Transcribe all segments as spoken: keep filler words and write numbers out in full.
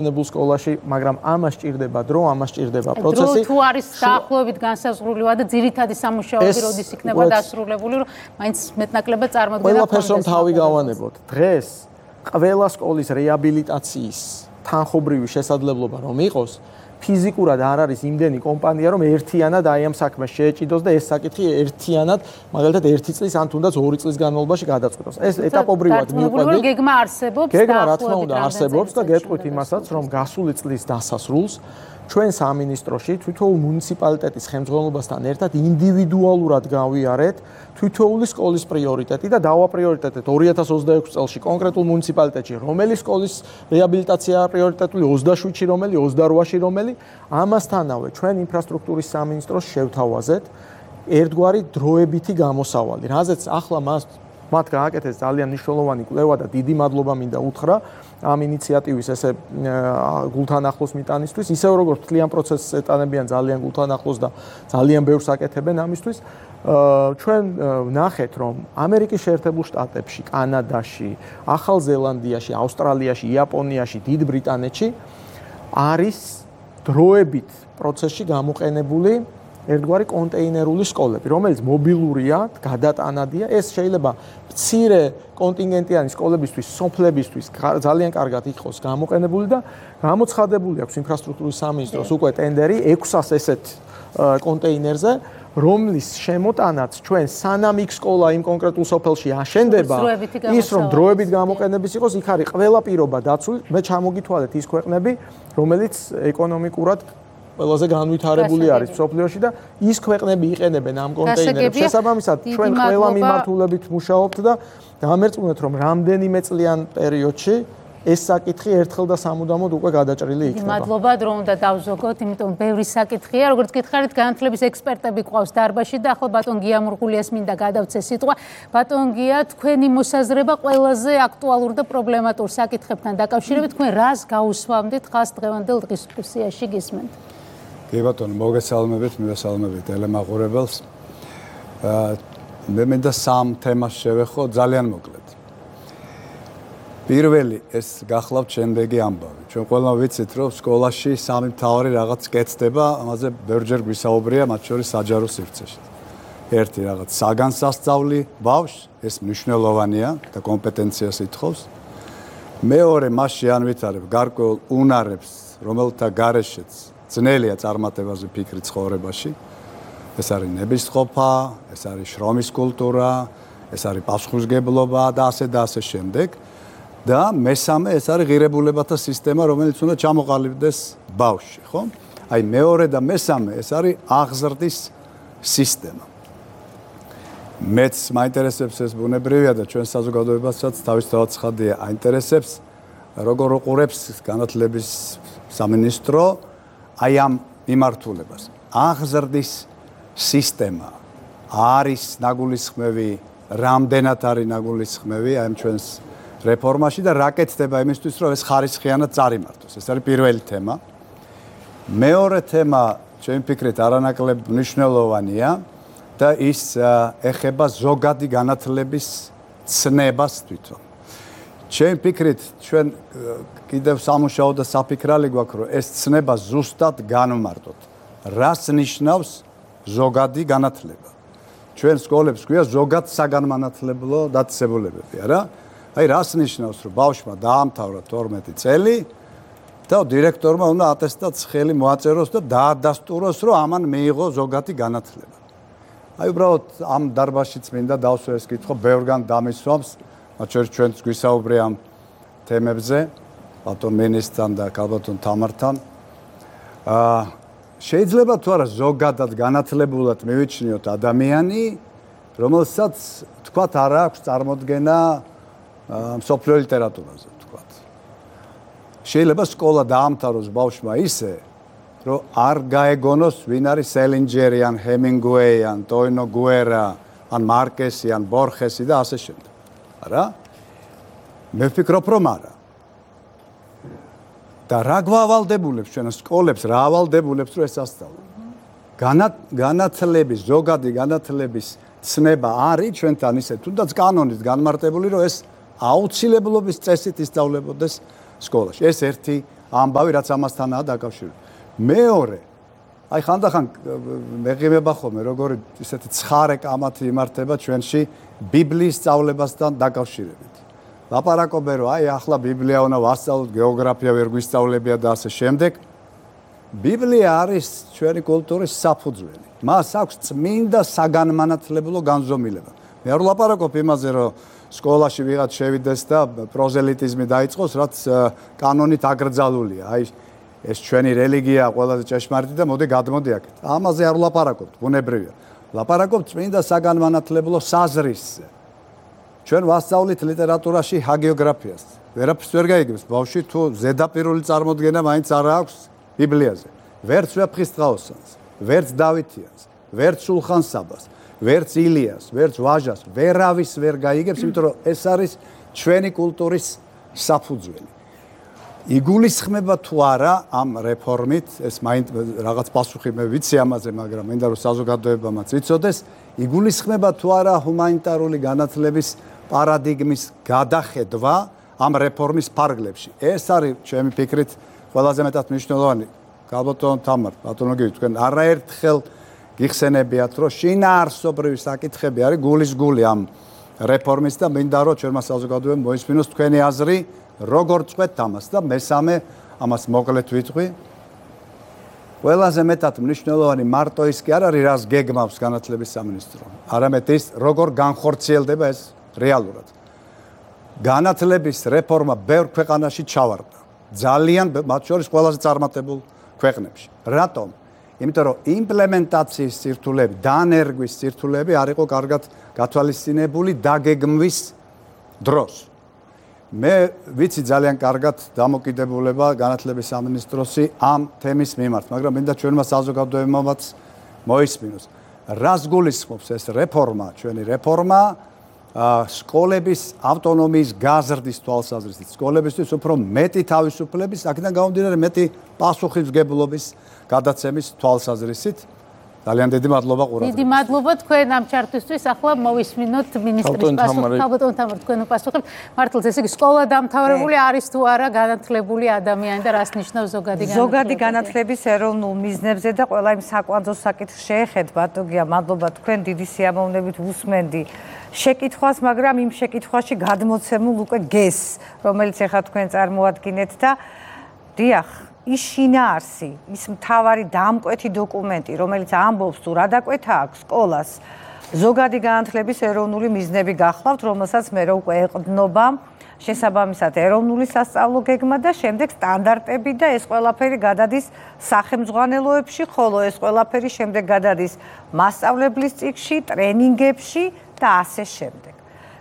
ნებულ სკოლაში, მაგრამ ამას ჭირდება დრო, ამას ჭირდება პროცესი. დრო თუ არის დაახლოებით განსაზღვრული და ძირითადი სამუშაოები როდის იქნება დასრულებული, რომ მაინც მეტნაკლებად წარმოდგენა ჰქონდეს. ყველაფერს რომ თავი გავანებოთ. დღეს ყველა სკოლის რეაბილიტაციის თანხობრივი შესაძლებლობა რომ იყოს, ფიზიკურად არ არის იმდენი კომპანია, რომ ერთიანად აი ამ საქმეს შეეჭიდოს და ეს საკითხი ერთიანად, მაგალითად ერთი წლის ან თუნდაც ორი წლის განმავლობაში გადაწყვეტოს. ეს ეტაპობრივად მივყვებით. გეგმა არსებობს, გეგმა რა თქმა უნდა არსებობს და გეტყვით იმასაც, რომ გასული წლის დასასრულს ჩვენ სამინისტროში თითოეულ მუნიციპალიტეტის ხელმძღვანელობასთან ერთად ინდივიდუალურად გავიარეთ თითოეული სკოლის პრიორიტეტი და დავაპრიორიტეტეთ ორი ათას ოცდაექვსი წელში კონკრეტულ მუნიციპალიტეტში რომელი სკოლის რეაბილიტაციაა პრიორიტეტული ოცდაშვიდში რომელი ოცდარვაში რომელი ამასთანავე ჩვენ ინფრასტრუქტურის სამინისტროს შევთავაზეთ ერთგვარი დროებითი გამოსავალი რაზეც ახლა მას მათ გააკეთეს ძალიან მნიშვნელოვანი კვლევა და დიდი მადლობა მინდა უთხრა ამ ინიციატივის ესე გულთან ახლოს მიტანისთვის ისევ როგორც თლიან პროცესს ეტანებიან ძალიან გულთან ახლოს და ძალიან ბევრს აკეთებენ ამისთვის ჩვენ ვნახეთ რომ ამერიკის შეერთებულ შტატებში, კანადაში, ახალ ზელანდიაში, ავსტრალიაში, იაპონიაში, დიდ ბრიტანეთში არის დროებით პროცესში გამოყენებული ერთგვარი კონტეინერული სკოლები, რომელიც მობილურია, გადატანადია, ეს შეიძლება მცირე კონტინგენტიანი სკოლებისთვის, სოფლებისთვის ძალიან კარგად იყოს გამოყენებული და გამოცხადებული აქვს ინფრასტრუქტურის სამინისტროს უკვე ტენდერი ექვსას ესეთ კონტეინერზე, რომლის შემოტანაც ჩვენ სანამ იქ სკოლა იმ კონკრეტულ სოფელში აშენდება, ის რომ დროებით გამოყენების იყოს, იქ არის ყველა პირობა დაცული, მე ჩამოგითვალეთ ის ქვეყნები, რომელიც ეკონომიკურად ყველაზე განვითარებული არის მსოფლიოში და ის ქვეყნები იყენებენ ამ კონტეინერებს. შესაბამისად, ჩვენ ყველა მიმართულებით მუშაობთ და დამერწმუნეთ, რომ რამდენიმე წლიან პერიოდში ეს საკითხი ერთხელ და სამუდამოდ უკვე გადაჭრილი იქნება. მადლობა, რომ უნდა დავზოგოთ, იმიტომ ბევრი საკითხია, როგორც გითხარით, განათლების ექსპერტები ყავს დარბაზში და ახლა ბატონ გია მურგულიას მინდა გადავცე სიტყვა. ბატონ გია, თქვენი მოსაზრება ყველაზე აქტუალურ და პრობლემატურ საკითხებთან დაკავშირებით, თქვენ რას გაუსვამდით ხას დღევანდელ დისკუსიაში გისმენთ? კი ბატონო, მოგესალმებით, მივესალმებით ელემაყურებელს. მე მინდა სამ თემას შევეხო ძალიან მოკლედ. პირველი ეს გახლავთ შემდეგი ამბავი. ჩვენ ყველამ ვიცით, რომ სკოლაში სამი მთავარი რაღაც კეთდება, ამაზე ბევრჯერ გვისაუბრია, მათ შორის საჯარო სივრცეში. ერთი რაღაც საგანსასწავლი ბავშვს, ეს მნიშვნელოვანია და კომპეტენციას ითხოვს. მეორე მასში ანვითარებ გარკვეულ უნარებს, რომელთა გარეშეც ძნელია წარმატებაზე ფიქრი ცხოვრებაში. ეს არის ნებისყოფა, ეს არის შრომის კულტურა, ეს არის პასუხისმგებლობა და ასე და ასე შემდეგ. და მესამე ეს არის ღირებულებათა სისტემა, რომელიც უნდა ჩამოყალიბდეს ბავშვში, ხო? აი მეორე და მესამე ეს არის აღზრდის სისტემა. მეც მაინტერესებს ეს ბუნებრივია და ჩვენ საზოგადოებასაც თავისთავად ცხადია აინტერესებს, როგორ უყურებს განათლების სამინისტრო აი ამ მიმართულებას. აღზრდის სისტემა არის ნაგულისხმევი, რამდენად არის ნაგულისხმევი აი ამ ჩვენს რეფორმაში და რა კეთდება იმისთვის, რომ ეს ხარისხიანად წარიმართოს. ეს არის პირველი თემა. მეორე თემა, ჩემი ფიქრით, არანაკლებ მნიშვნელოვანია და ის ეხება ზოგადი განათლების ცნებას თვითონ. ჩემი ფიქრით, ჩვენ კიდევ სამუშაო და საფიქრალი გვაქვს, რომ ეს ცნება ზუსტად განვმარტოთ. რას ნიშნავს ზოგადი განათლება? ჩვენ სკოლებს გვია ზოგად საგანმანათლებლო დაწესებულებები, არა? აი რას ნიშნავს, რომ ბავშვმა დაამთავრა თორმეტი წელი და დირექტორმა უნდა ატესტატს ხელი მოაწეროს და დაადასტუროს, რომ ამან მიიღო ზოგადი განათლება. აი უბრალოდ ამ დარბაზშიც მინდა დავსვე ეს კითხვა, ბევრგან დამისვამს, მათ შორის ჩვენც გვისაუბრია ამ თემებზე, ბატონ მინისტრთან და ქალბატონ თამართან. აა შეიძლება თუ არა ზოგადად განათლებულად მივიჩნიოთ ადამიანი, რომელსაც თქვათ არ აქვს წარმოდგენა მსოფლიო ლიტერატურაზე, თქვათ. შეიძლება სკოლა დაამთავროს ბავშვმა ისე, რომ არ გაეგონოს ვინ არის სელინჯერი ან ჰემინგუეი ან ტოინო გუერა ან მარკესი ან ბორხესი და ასე შემდეგ. არა? მე ვფიქრობ, რომ არა. და რა გვავალდებულებს ჩვენ სკოლებს, რა ავალდებულებს რომ ეს ასწავლონ. განათლების, ზოგადი განათლების ცნება არის ჩვენთან ისე თუნდაც კანონით განმარტებული, რომ ეს აუცილებლობის წესით ისწავლებოდეს სკოლაში. ეს ერთი ამბავი, რაც ამასთანაა დაკავშირებული. მეორე, აი ხანდახან მეღიმება ხოლმე, როგორი ისეთი ცხარე კამათი იმართება ჩვენში ბიბლიის სწავლებასთან დაკავშირებით. ლაპარაკობენ, რომ აი ახლა ბიბლია უნდა ვასწავლოთ, გეოგრაფია ვერ გვისწავლებია და ასე შემდეგ. ბიბლია არის ჩვენი კულტურის საფუძველი. მას აქვს წმინდა საგანმანათლებლო განზომილება. მე არ ვლაპარაკობ იმაზე, რომ სკოლაში ვიღაც შევიდეს და პროზელიტიზმი დაიწყოს, რაც კანონით აკრძალულია. აი ეს ჩვენი რელიგია ყველაზე ჭეშმარიტი და მოდი გადმოდი აქეთ. ამაზე არ ვლაპარაკობთ, ბუნებრივია. ვლაპარაკობთ წმინდა საგანმანათლებლო საზრისზე. ჩვენ ვასწავლით ლიტერატურაში ჰაგიოგრაფიას. ვერაფერს ვერ გაიგებს, ბავშვი თუ ზედაპირული წარმოდგენა მაინც არ აქვს ბიბლიაზე. ვერც ვეფხისტყაოსანს, ვერც დავითიანს, ვერც სულხან-საბას, ვერც ილიას, ვერც ვაჟას, ვერავის ვერ გაიგებს, იმიტომ რომ ეს არის ჩვენი კულტურის საფუძველი. იგულისხმება თუ არა ამ რეფორმით, ეს მაინც რაღაც პასუხი მე ვიცი ამაზე, მაგრამ მინდა რომ საზოგადოებამაც იცოდეს, იგულისხმება თუ არა ჰუმანიტარული განათლების პარადიგმის გადახედვა ამ რეფორმის ფარგლებში. ეს არის ჩემი ფიქრით ყველაზე მეტად მნიშვნელოვანი. გალბატონ თამარ, ბატონო გივი, თქვენ არაერთხელ გიხსენებიათ, რომ შინაარსობრივი საკითხები არის გულის გული ამ რეფორმის და მინდა რომ ჩვენმა საზოგადოებამ მოისმინოს თქვენი აზრი, როგორ წყვეთ ამას და მესამე ამას მოკლედ ვიტყვი. ყველაზე მეტად მნიშვნელოვანი მარტო ის კი არ არის, რას გეგმავს განათლების სამინისტრო, არამედ ის, როგორ განხორციელდება ეს რეალურად. განათლების რეფორმა ბევრ ქვეყანაში ჩავარდა. ძალიან, მათ შორის ყველაზე წარმატებულ ქვეყნებში. რატომ? იმიტომ რომ იმპლემენტაციის სირთულეები, დანერგვის სირთულეები არ იყო კარგად გათვალისწინებული დაგეგმვის დროს. მე ვიცი ძალიან კარგად დამოკიდებულება განათლების სამინისტროსი ამ თემის მიმართ, მაგრამ მინდა ჩვენმა საზოგადოებამაც მოისმინოს. რას გულისხმობს ეს რეფორმა, ჩვენი რეფორმა, სკოლების ავტონომიის გაზრდის თვალსაზრისით, სკოლებისთვის უფრო მეტი თავისუფლების, აქედან გამომდინარე მეტი პასუხისმგებლობის გადაცემის თვალსაზრისით. ძალიან დიდი მადლობა ყურადღებისთვის. დიდი მადლობა თქვენ ამ ჩართვისთვის. ახლა მოვისმინოთ მინისტრის პასუხი. ალბათ თამარ თქვენ უპასუხებთ. მართლაც ესე იგი სკოლა დამთავრებული არის თუ არა განათლებული ადამიანი და რას ნიშნავს ზოგადი განათლება? ზოგადი განათლების ეროვნულ მიზნებზე და ყველა იმ საკვანძო საკითხს შეეხეთ, ბატონია, მადლობა თქვენ დიდი სიამოვნებით ვუსმენდი შეკითხვას, მაგრამ იმ შეკითხვაში გადმოცემულ უკვე გესს, რომელიც ახლა თქვენ წარმოადგენთ და დიახ, ის შინაარსი, ის მთავარი დამკვეთი დოკუმენტი, რომელიც ამბობს თუ რა დაკვეთა აქვს სკოლას, ზოგადი განათლების ეროვნული მიზნები გახლავთ, რომელსაც მე უკვე ეყრდნობა შესაბამისად ეროვნული სასწავლო გეგმა და შემდეგ სტანდარტები და ეს ყველაფერი გადადის სახელმძღვანელოებში, ხოლო ეს ყველაფერი შემდეგ გადადის მასწავლებლის წიგნში, ტრენინგებში და ასე შემდეგ.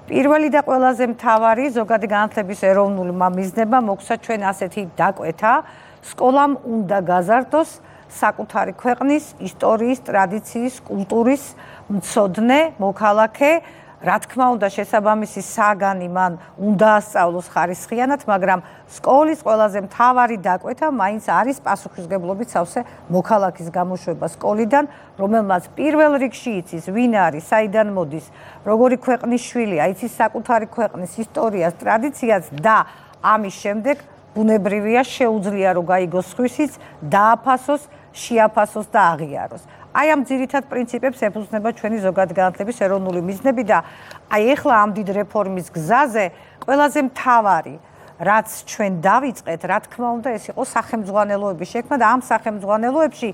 პირველი და ყველაზე მთავარი ზოგადი განათლების ეროვნული მიზნება მოგცა ჩვენ ასეთი დაკვეთა, სკოლამ უნდა გაზარდოს საკუთარი ქვეყნის ისტორიის, ტრადიციის, კულტურის მცოდნე, მოქალაქე, რა თქმა უნდა შესაბამისი საგანი მან უნდა ასწავლოს ხარისხიანად, მაგრამ სკოლის ყველაზე მთავარი დაკვეთა მაინც არის პასუხისმგებლობით სავსე მოქალაქის გამოშვება სკოლიდან, რომელმაც პირველ რიგში იცის ვინ არის, საიდან მოდის, როგორი ქვეყნის შვილია, იცის საკუთარი ქვეყნის ისტორიას, ტრადიციას და ამის შემდეგ ბუნებრივია შეუძლია რომ გაიგოს სხვისიც, დააფასოს, შეაფასოს და აღიაროს. აი ამ ძირითად პრინციპებს ეფუძნება ჩვენი ზოგადი განათლების ეროვნული მიზნები და აი ახლა ამ დიდ რეფორმის გზაზე ყველაზე მთავარი რაც ჩვენ დავიწყეთ, რა თქმა უნდა, ეს იყო სახელმძღვანელოების შექმნა და ამ სახელმძღვანელოებში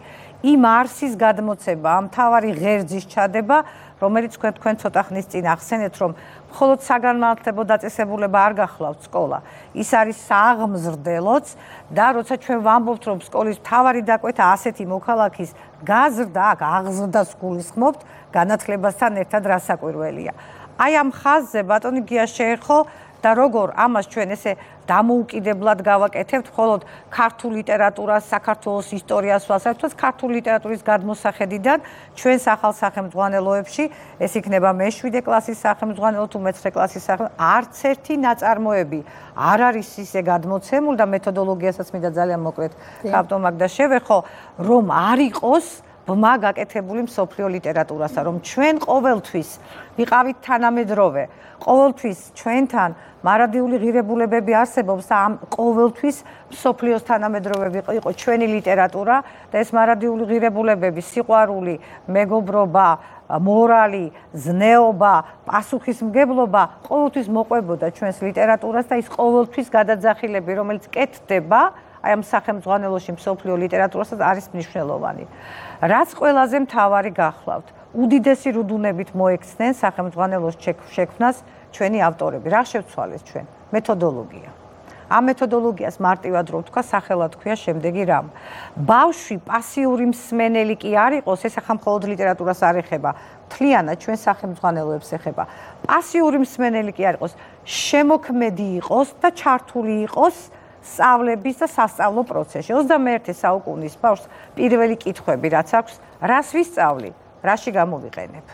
იმ არსის გადმოცემა, ამ მთავარი ღერძის ჩადება, რომელიც თქვენ თქვენ ცოტა ხნის წინ ახსენეთ, რომ მხოლოდ საგანმანათლებლო დაწესებულება არ გახლავთ სკოლა. ის არის სააღმზრდელოც და როცა ჩვენ ვამბობთ, რომ სკოლის მთავარი დაკვეთა ასეთი მოქალაქის გაზრდა, აქ აღზრდას გულისხმობთ, განათლებასთან ერთად რასაკვირველია. აი ამ ხაზზე ბატონი გია შეეხო და როგორ ამას ჩვენ ესე დამოუკიდებლად გავაკეთებთ, მხოლოდ ქართულ ლიტერატურას, საქართველოს ისტორიას ვასწავლეთ, ქართული ლიტერატურის გადმოსახედიდან ჩვენს ახალ სახელმძღვანელოებში, ეს იქნება მეშვიდე კლასის სახელმძღვანელო თუ მეცხრე კლასის სახელმძღვანელო, არც ერთი ნაწარმოები არ არის ისე გადმოცემული და მეთოდოლოგიასაც მინდა ძალიან მოკლედ ხავტომაგდა შევეხო, რომ არ იყოს ბმა გაკეთებული მსოფლიო ლიტერატურასა, რომ ჩვენ ყოველთვის ვიყავით თანამედროვე, ყოველთვის ჩვენთან მარადიული ღირებულებები არსებობს და ამ ყოველთვის მსოფლიოს თანამედროვე იყო ჩვენი ლიტერატურა და ეს მარადიული ღირებულებები, სიყვარული, მეგობრობა, მორალი, ზნეობა, პასუხისმგებლობა ყოველთვის მოყვებოდა ჩვენს ლიტერატურას და ის ყოველთვის გადაძახილები, რომელიც კეთდება აი ამ სახელმძღვანელოში მსოფლიო ლიტერატურასაც არის მნიშვნელოვანი. რაც ყველაზე მთავარი გახლავთ, უდიდესი რუდუნებით მოექცნენ სახელმძღვანელოს შექმნას ჩვენი ავტორები. რა შევცვალეს ჩვენ? მეთოდოლოგია. ამ მეთოდოლოგიას მარტივად რო ვთქვა, სახელად ქვია შემდეგი რამ. ბავშვი პასიური მსმენელი კი არ იყოს, ეს ახლა მხოლოდ ლიტერატურას არ ეხება, მთლიანად ჩვენ სახელმძღვანელოებს ეხება. პასიური მსმენელი კი არ იყოს, შემოქმედი იყოს და ჩართული იყოს სწავლების და სასწავლო პროცესში. ოცდამეერთე საუკუნის ბავშვს პირველი კითხვები რაც აქვს, რას ვისწავლი, რაში გამოვიყენებ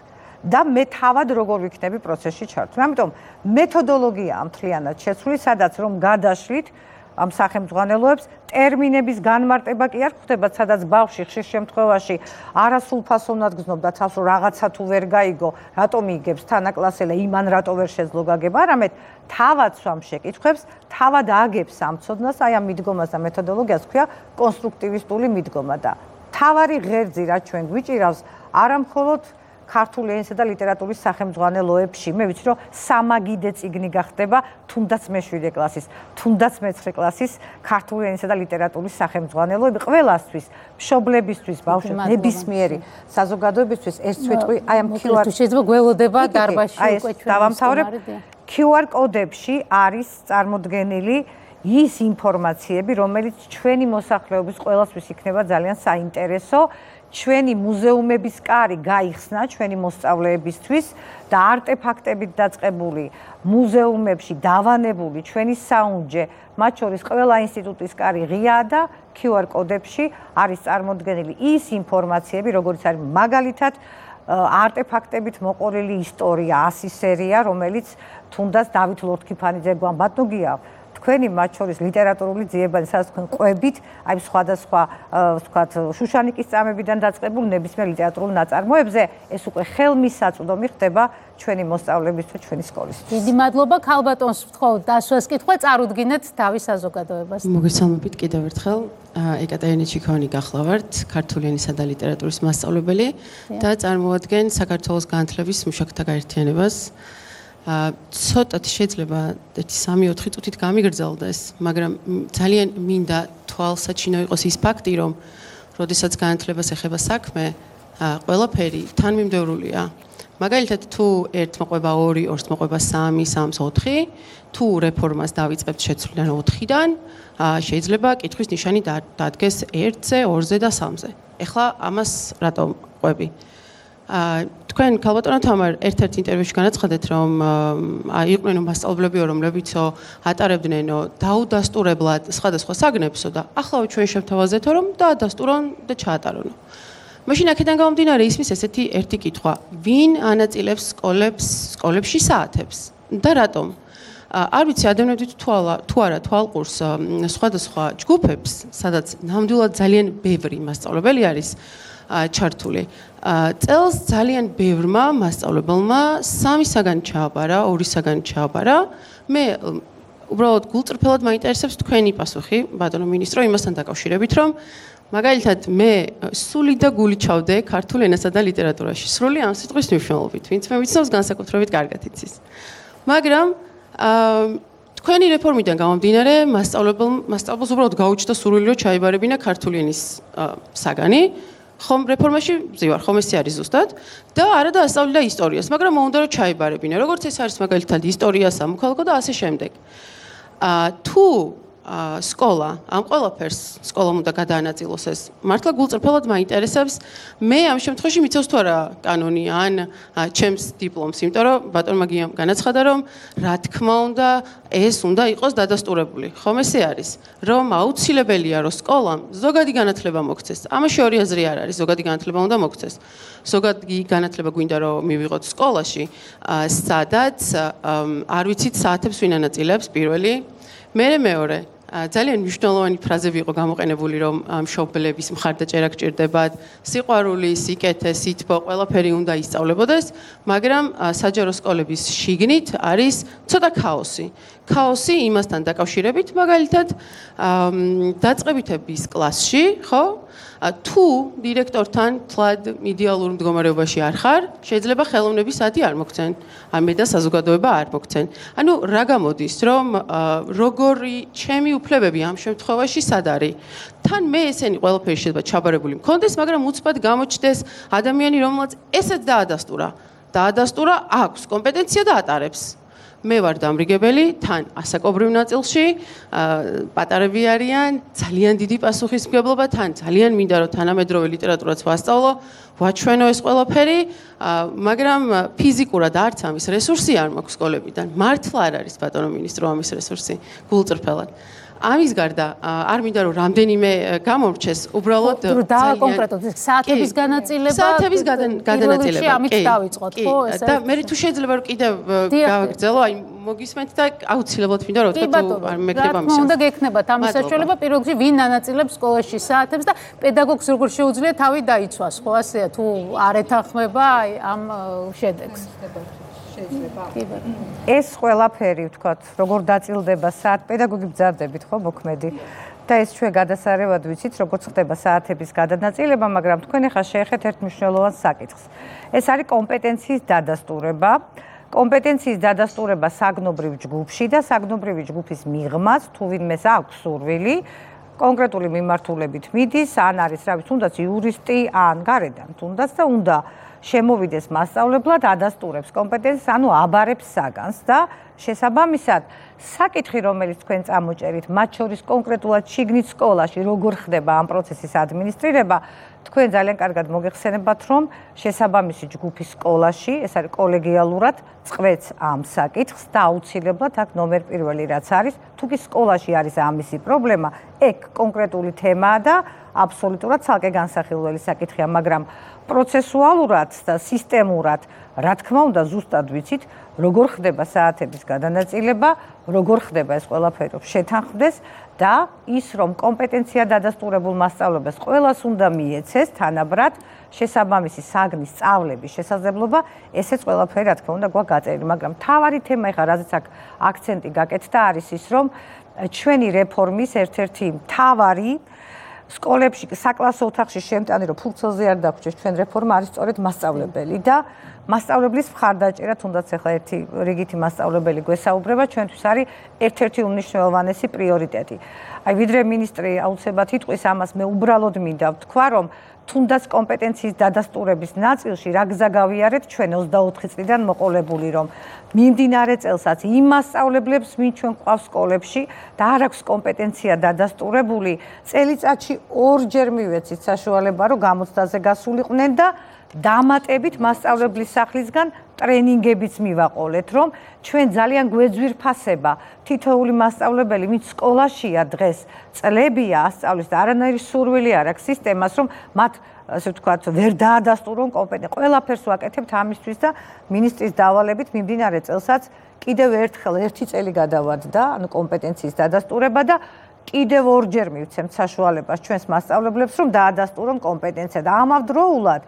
და მე თავად როგორ ვიქნები პროცესში ჩართული. ამიტომ მეთოდოლოგია მთლიანად შეცვლილი, სადაც რომ გადაშლით ამ სახელმძღვანელოებს ტერმინების განმარტება კი არ ხდება, სადაც ბავშვი ხშირ შემთხვევაში არასრულფასოვნად გრძნობდა თავს, რომ რაღაცა თუ ვერ გაიგო, რატომ იგებს თანაკლასელა, იმან რატო ვერ შეძლო გაგება, არამედ თავად სვამ შეკითხვებს, თავად აგებს ამ ცოდნას, აი ამ მიდგომას და მეთოდოლოგიას ქვია კონსტრუქტივისტული მიდგომა და თავარი ღერძი რაც ჩვენ გვიჭირავს, არა მხოლოდ ქართული ენისა და ლიტერატურის სახელმძღვანელოებში. მე ვიცი, რომ სამაგიდე წიგნი გახდება, თუნდაც მეშვიდე კლასის, თუნდაც მეცხრე კლასის ქართული ენისა და ლიტერატურის სახელმძღვანელოები ყველასთვის, მშობლებისთვის, ბავშვებს, ნებისმიერი საზოგადოებისთვის ეს ცვიტყვი აი ამ კიუ არ შეიძლება გველოდება დარბაზში უკვე ჩვენ დავამთავრებ. კიუ არ კოდებში არის წარმოდგენილი ის ინფორმაციები, რომელიც ჩვენი მოსახლეობის ყველასთვის იქნება ძალიან საინტერესო. ჩვენი მუზეუმების კარი გაიხსნა ჩვენი მოსწავლეებისთვის და არტეფაქტებით დაწყებული მუზეუმებში დავანებული ჩვენი საუნჯე, მათ შორის ყველა ინსტიტუტის კარი ღიაა და კიუ არ კოდებში არის წარმოდგენილი ის ინფორმაციები, როგორც არის მაგალითად არტეფაქტებით მოყოლილი ისტორია, ასი სერია, რომელიც თუნდაც დავით ლორთქიფანიძე გვამბატნუგია თქვენი მათ შორის ლიტერატურული ძიებანი, სადაც თქვენ ყვებით, აი სხვადასხვა ვთქვათ, შუშანიკის წამებიდან დაწყებულ ნებისმიერ ლიტერატურულ ნაწარმოებზე, ეს უკვე ხელმისაწვდომი ხდება ჩვენი მოსწავლეებისთვის, ჩვენი სკოლისთვის. დიდი მადლობა, ქალბატონს ვთხოვთ დასვას კითხვა, წარუდგინეთ თავის საზოგადოებას. მოგესალმებით კიდევ ერთხელ. ეკატერინე ჩიქოვანი გახლავართ, ქართული ენისა და ლიტერატურის მასწავლებელი და წარმოადგენ საქართველოს განათლების მუშაკთა გაერთიანებას. ცოტათ შეიძლება ერთი სამი ოთხი წუთით გამიგრძელდეს, მაგრამ ძალიან მინდა თვალსაჩინო იყოს ის ფაქტი, რომ როდესაც განათლებას ეხება საქმე, ყველაფერი თანმიმდევრულია. მაგალითად, თუ ერთ მოყვება ორი, ორს მოყვება სამი, სამს ოთხი, თუ რეფორმას დავიწყებთ შეცვლიდან ოთხიდან, შეიძლება კითხვის ნიშანი დადგეს ერთზე, ორზე და სამზე. ეხლა ამას რატომ ყვები? თქვენ ქალბატონო თამარ ერთ-ერთ ინტერვიუში განაცხადეთ, რომ იყვნენ მასწავლებლებიო, რომლებიცო ატარებდნენო დაუდასტურებლად სხვადასხვა საგნებსო და ახლა ჩვენ შევთავაზეთო, რომ დაადასტურონ და ჩაატარონო. მაშინ აქედან გამომდინარე ისმის ესეთი ერთი კითხვა, ვინ ანაწილებს სკოლებს, სკოლებში საათებს და რატომ? არ ვიცი, ადევნებდით თუ არა თვალყურს სხვადასხვა ჯგუფებს, სადაც ნამდვილად ძალიან ბევრი მასწავლებელი არის ჩართული. წელს ძალიან ბევრმა მასწავლებელმა სამი საგანი ჩააბარა, ორი საგანი ჩააბარა. მე უბრალოდ გულწრფელად მაინტერესებს თქვენი პასუხი, ბატონო მინისტრო, იმასთან დაკავშირებით, რომ მაგალითად მე სული და გული ჩავდე ქართულ ენასა და ლიტერატურაში. სრული ამ სიტყვის მნიშვნელობით, ვინც მე ვიცნობს განსაკუთრებით კარგად იცის. მაგრამ თქვენი რეფორმიდან გამომდინარე, მასწავლებელ მასწავლებელს უბრალოდ გაუჩნდა სურვილი, რომ ჩაიბარებინა ქართული ენის საგანი. ხომ რეფორმაში ვზივარ, ხომ ესე არის ზუსტად და არა დაასწავლიდა ისტორიას, მაგრამ მოუნდა რომ ჩაიბარებინა. როგორც ეს არის მაგალითად ისტორია, სამოქალაქო და ასე შემდეგ. თუ სკოლა ამ ყველაფერს სკოლამ უნდა გადაანაწილოს ეს. მართლა გულწრფელად მაინტერესებს, მე ამ შემთხვევაში მიცავს თუ არა კანონი ან ჩემს დიპლომს, იმიტომ რომ ბატონმა გიამ განაცხადა, რომ რა თქმა უნდა ეს უნდა იყოს დადასტურებული. ხომ ესე არის, რომ აუცილებელია რომ სკოლამ ზოგადი განათლება მოქცეს. ამაში ორი აზრი არ არის, ზოგადი განათლება უნდა მოქცეს. ზოგადი განათლება გვინდა რომ მივიღოთ სკოლაში, სადაც არ ვიცით საათებს ვინ ანაწილებს პირველი. მე მეორე ძალიან მნიშვნელოვანი ფრაზები იყო გამოყენებული, რომ მშობლების მხარდაჭერა გჭირდებათ, სიყვარული, სიკეთე, სითბო, ყველაფერი უნდა ისწავლებოდეს, მაგრამ საჯარო სკოლების შიგნით არის ცოტა ქაოსი. ქაოსი იმასთან დაკავშირებით, მაგალითად, დაწყებითების კლასში, ხო? თუ დირექტორთან თლად იდეალურ მდგომარეობაში არ ხარ, შეიძლება ხელოვნების საათი არ მოგცენ, ამე და საზოგადოება არ მოგცენ. ანუ რა გამოდის, რომ როგორი ჩემი უფლებები ამ შემთხვევაში სად არის? თან მე ესენი ყველაფერი შეიძლება ჩაბარებული მქონდეს, მაგრამ უცბად გამოჩნდეს ადამიანი, რომელსაც ესეც დაადასტურა. დაადასტურა, აქვს კომპეტენცია და ატარებს. მე ვარ დამრიგებელი, თან ასაკობრივ ნაწილში, პატარები არიან, ძალიან დიდი პასუხისმგებლობა, თან ძალიან მინდა რომ თანამედროვე ლიტერატურაც ვასწავლო, ვაჩვენო ეს ყველაფერი, მაგრამ ფიზიკურად არც ამის რესურსი არ მაქვს სკოლებიდან. მართლა არ არის ბატონო მინისტრო ამის რესურსი, გულწრფელად. ამის გარდა არ მინდა რომ რამდენიმე გამომრჩეს, უბრალოდ და კონკრეტულად საათების განაწილება საათების განაწილება. ამით დავიწყოთ, ხო, ეს და მე თუ შეიძლება რომ კიდევ გავაგრძელო, აი მოგისმენთ და აუცილებლად მინდა რომ თქვა თუ არ მეკრება ამის. უნდა გექნებათ ამის საშუალება, პირველ რიგში ვინ ანაწილებს სკოლაში საათებს და პედაგოგს როგორ შეუძლია თავი დაიცვას, ხო, ასეა თუ არ ეთანხმება აი ამ შედეგს. ეს ყველაფერი ვთქვათ, როგორ დაწილდება საათ, პედაგოგი ბრძანდებით, ხო, მოქმედი. და ეს ჩვენ გადასარევად ვიცით, როგორც ხდება საათების გადანაწილება, მაგრამ თქვენ ახლა შეეხეთ ერთ მნიშვნელოვან საკითხს. ეს არის კომპეტენციის დადასტურება. კომპეტენციის დადასტურება საგნობრივ ჯგუფში და საგნობრივი ჯგუფის მიღმას, თუ ვინმეს აქვს სურვილი, კონკრეტული მიმართულებით მიდის, ან არის რა ვიცი, თუნდაც იურისტი, ან გარედან, თუნდაც და უნდა შემოვიდეს მასწავლებლად, ადასტურებს კომპეტენციას, ანუ აბარებს საგანს და შესაბამისად, საკითხი, რომელიც თქვენ წამოჭერით, მათ შორის კონკრეტულად შიგნით სკოლაში, როგორ ხდება ამ პროცესის ადმინისტრირება, თქვენ ძალიან კარგად მოგეხსენებათ, რომ შესაბამისი ჯგუფის სკოლაში, ეს არის კოლეგიალურად, წყვეტს ამ საკითხს და აუცილებლად აქ ნომერ პირველი რაც არის, თუ კი სკოლაში არის ამისი პრობლემა, ეგ კონკრეტული თემაა და აბსოლუტურად ცალკე განსახილველი საკითხია, მაგრამ პროცესუალურად და სისტემურად, რა თქმა უნდა, ზუსტად ვიცით, როგორ ხდება საათების გადანაწილება, როგორ ხდება ეს ყველაფერი შეთანხმდეს და ის, რომ კომპეტენცია დადასტურებულ მასწავლებლებს ყველას უნდა მიეცეს თანაბრად შესაბამისი საგნის სწავლების შესაძლებლობა, ესეც ყველაფერი რა თქმა უნდა გვაქვს გაწერილი, მაგრამ მთავარი თემა ეხლა რაზეც აქ აქცენტი გაკეთდა არის ის, რომ ჩვენი რეფორმის ერთ-ერთი მთავარი სკოლებში საკლასო ოთახში შემტანი რომ ფუნქციაზე არ დაგვრჩეს ჩვენ რეფორმა არის სწორედ მასწავლებელი და მასწავლებლის მხარდაჭერა თუნდაც ახლა ერთი რიგითი მასწავლებელი გვესაუბრება ჩვენთვის არის ერთ-ერთი უმნიშვნელოვანესი პრიორიტეტი. აი ვიდრე მინისტრი აუცილებლად იტყვის ამას მე უბრალოდ მინდა ვთქვა რომ თუნდაც კომპეტენციის დადასტურების ნაწილში რა გზა გავიარეთ ჩვენ ოცდაოთხი წლიდან მოყოლებული რომ მიმდინარე წელსაც იმ მასწავლებლებს ვინ ჩვენ ყავს სკოლებში და არ აქვს კომპეტენცია დადასტურებული წელიწადში ორჯერ მივეცით საშუალება რომ გამოცდაზე გასულიყვნენ და დამატებით მასწავლებლის სახლისგან ტრენინგებიც მივაყოლეთ რომ ჩვენ ძალიან გვეძვირფასება თითოეული მასწავლებელი ვინც სკოლაშია დღეს წლებია ასწავლის და არანაირი სურვილი არ აქვს სისტემას რომ მათ ასე ვთქვათ ვერ დაადასტურონ კომპეტენცია ყველაფერს ვაკეთებთ ამისთვის და მინისტრის დავალებით მიმდინარე წელსაც კიდევ ერთხელ ერთი წელი გადავადდა ანუ კომპეტენციის დადასტურება და კიდევ ორჯერ მივცემთ საშუალებას ჩვენს მასწავლებლებს რომ დაადასტურონ კომპეტენცია და ამავდროულად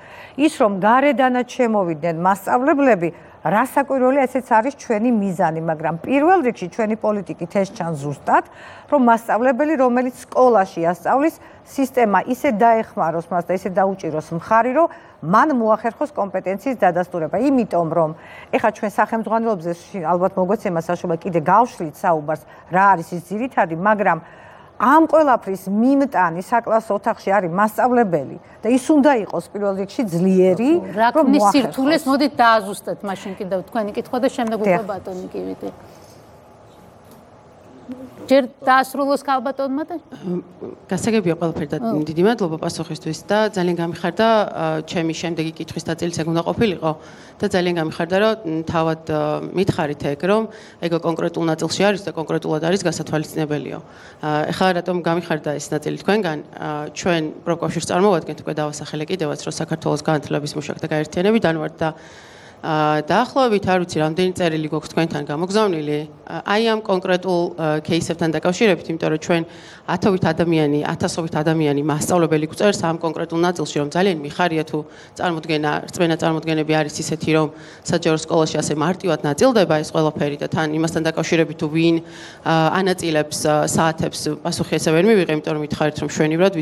ის რომ გარედანაც შემოვიდნენ მასწავლებლები რასაკვირველია ესეც არის ჩვენი მიზანი მაგრამ პირველ რიგში ჩვენი პოლიტიკით ეს ჩანს ზუსტად რომ მასწავლებელი რომელიც სკოლაში ასწავლის სისტემა ისე დაეხმაროს მას და ისე დაუჭიროს მხარი რომ მან მოახერხოს კომპეტენციის დადასტურება იმიტომ რომ ეხლა ჩვენ სახელმძღვანელოებზე ალბათ მოგვეცემა საშუალება კიდე გავშლით საუბარს რა არის ის ძირითადი მაგრამ ამ ყველაფრის მიმტანი საკლასო ოთახში არის მასწავლებელი და ის უნდა იყოს პირველ რიგში ძლიერი რომ სირთულეს მოდით დააზუსტეთ მაშინ კიდევ თქვენი კითხვა და შემდეგ უკვე ბატონი კივიტი ჯერ დაასრულოს ქალბატონმა და გასაგებია ყველაფერი და დიდი მადლობა პასუხისთვის და ძალიან გამიხარდა ჩემი შემდეგი კითხვის ნაწილიც ეგ უნდა ყოფილიყო და ძალიან გამიხარდა რომ თავად მითხარით ეგ რომ ეგ კონკრეტულ ნაწილში არის და კონკრეტულად არის გასათვალისწინებელიო. ეხლა რატომ გამიხარდა ეს ნაწილი თქვენგან ჩვენ პროფკავშირს წარმოვადგენთ უკვე დავასახელე კიდევაც რომ საქართველოს განათლების მუშაკთა გაერთიანებიდან ვართ და დაახლოებით არ ვიცი რამდენი წერილი გვაქვს თქვენთან გამოგზავნილი აი ამ კონკრეტულ кейსებთან დაკავშირებით, იმიტომ რომ ჩვენ ათობით ადამიანი, ათასობით ადამიანი მასწავლებელი გვწერს ამ კონკრეტულ ნაწილში, რომ ძალიან მიხარია თუ წარმოდგენა, რწმენა წარმოდგენები არის ისეთი, რომ საჯარო სკოლაში ასე მარტივად ნაწილდება ეს ყველაფერი და თან იმასთან დაკავშირებით თუ ვინ ანაწილებს საათებს პასუხი ესე ვერ მივიღე, იმიტომ რომ მითხარით რომ შვენივრად